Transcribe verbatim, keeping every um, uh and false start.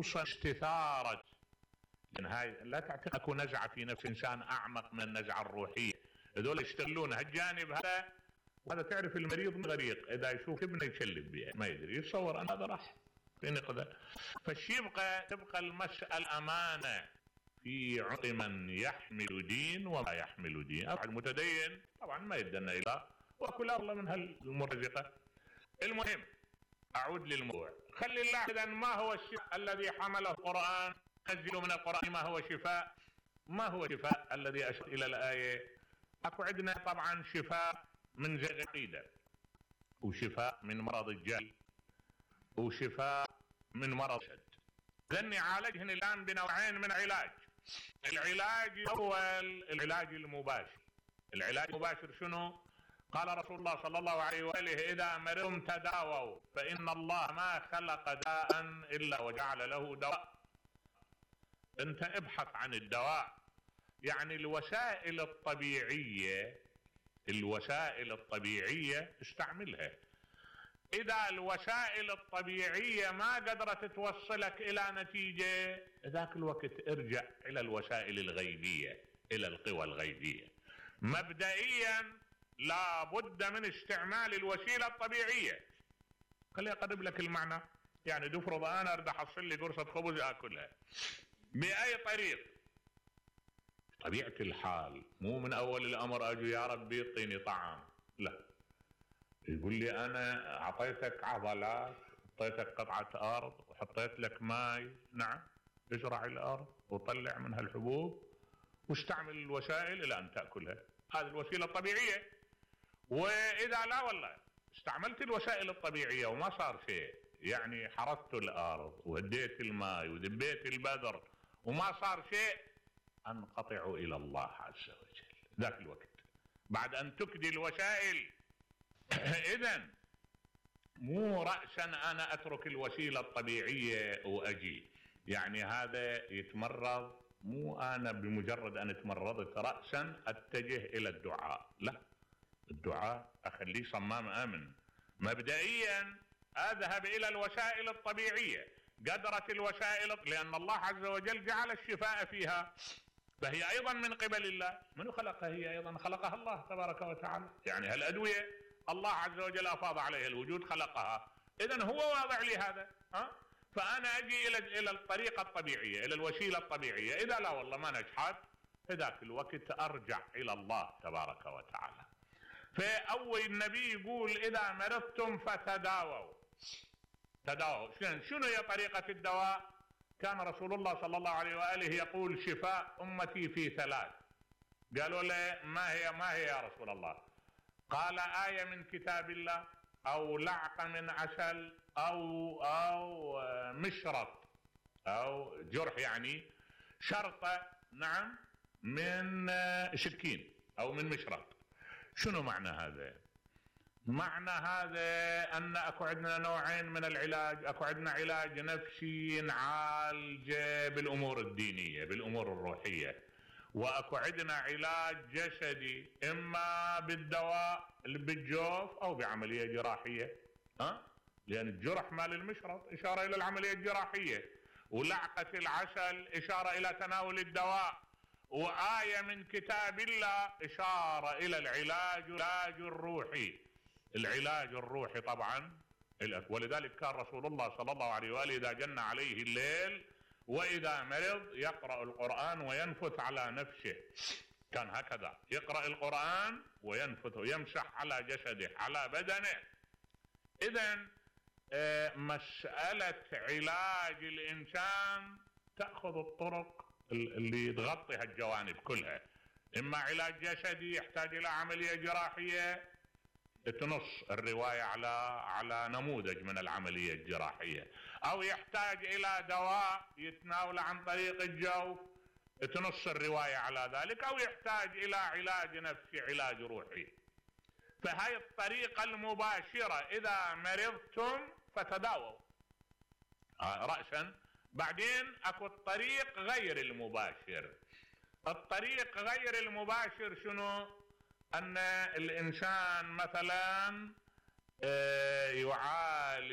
خصوصا استثارة، لان هاي لا تعتقد اكو نزعة في نفس الانسان اعمق من النزعة الروحية، هذول يشتغلون هالجانب هذا، وهذا تعرف المريض غريق اذا يشوف ابنه يكلب بيه ما يدري، يتصور ان هذا راح في نقدة. فالشي يبقى تبقى المسألة امانة في عنق من يحمل دين وما يحمل دين. واحد متدين طبعا ما يدنا الى واكل الله من هالمرزقة. المهم اعود للموضوع، خلي الله اذا ما هو الشفاء الذي حمله القرآن، نزل من القرآن ما هو شفاء. ما هو شفاء الذي اشار الى الآية؟ اكو عندنا طبعا شفاء من زيغ العقيدة، وشفاء من مرض الجهل، وشفاء من مرض الشد. ذني عالجهن الان بنوعين من علاج. العلاج الاول العلاج المباشر. العلاج المباشر شنو؟ قال رسول الله صلى الله عليه وآله اذا مرضتم تداووا فان الله ما خلق داء الا وجعل له دواء. انت ابحث عن الدواء، يعني الوسائل الطبيعية، الوسائل الطبيعية استعملها. اذا الوسائل الطبيعية ما قدرت توصلك الى نتيجة، ذاك الوقت ارجع الى الوسائل الغيبية، الى القوى الغيبية. مبدئيا لابد من استعمال الوسيلة الطبيعية. خليني اقرب لك المعنى، يعني تفرض انا اريد احصل لي قرصة خبز اكلها، باي طريق؟ طبيعة الحال مو من اول الامر اجي يا ربي اعطيني طعام، لا، يقول لي انا اعطيتك عضلات، اعطيتك قطعة ارض وحطيت لك ماي، نعم، ازرع الارض وطلع منها الحبوب واستعمل الوسائل الى ان تأكلها. هذه الوسيلة الطبيعية. واذا لا والله استعملت الوسائل الطبيعية وما صار شيء، يعني حرثت الارض وهديت الماي ودبيت البذر وما صار شيء، انقطع الى الله عز وجل ذاك الوقت بعد ان تكدي الوسائل. اذا مو رأسا انا اترك الوسيلة الطبيعية واجي، يعني هذا يتمرض، مو انا بمجرد ان تمرضت رأسا اتجه الى الدعاء، لا، الدعاء اخليه صمام امن. مبدئيا اذهب الى الوسائل الطبيعية، قدرت الوسائل، لان الله عز وجل جعل الشفاء فيها، فهي ايضا من قبل الله. من خلقها؟ هي ايضا خلقها الله تبارك وتعالى، يعني هالادوية الله عز وجل افاض عليها الوجود خلقها، اذا هو واضع لي هذا. ها؟ فانا اجي الى الى الطريقة الطبيعية، الى الوسيلة الطبيعية. اذا لا والله ما نجحت، في ذاك الوقت ارجع الى الله تبارك وتعالى. فاول النبي يقول اذا مرضتم فتداووا. تداووا شنو هي طريقة الدواء؟ كان رسول الله صلى الله عليه وآله يقول شفاء أمتي في ثلاث. قالوا له ما هي ما هي يا رسول الله؟ قال آية من كتاب الله، أو لعقة من عسل، أو أو مشرط، أو جرح، يعني شرطة، نعم، من سكين أو من مشرط. شنو معنى هذا؟ معنى هذا أن أكو عندنا نوعين من العلاج. أكو عندنا علاج نفسي نعالج بالأمور الدينية بالأمور الروحية، وأكو عندنا علاج جسدي، إما بالدواء بالجوف أو بعملية جراحية. ها؟ لأن الجرح مال المشرط إشارة إلى العملية الجراحية، ولعقة العسل إشارة إلى تناول الدواء، وآية من كتاب الله إشارة إلى العلاج العلاج الروحي. العلاج الروحي طبعا، ولذلك كان رسول الله صلى الله عليه وآله إذا جن عليه الليل وإذا مرض يقرأ القرآن وينفث على نفسه. كان هكذا يقرأ القرآن وينفث ويمسح على جسده على بدنه. إذن مسألة علاج الإنسان تأخذ الطرق اللي تغطي هالجوانب كلها. إما علاج جسدي يحتاج إلى عملية جراحية تنص الرواية على على نموذج من العملية الجراحية، أو يحتاج إلى دواء يتناول عن طريق الجوف تنص الرواية على ذلك، أو يحتاج إلى علاج نفسي علاج روحي. فهي الطريقة المباشرة، إذا مرضتم فتداووا رأسا. بعدين أكو الطريق غير المباشر. الطريق غير المباشر شنو؟ أن الإنسان مثلا يعالج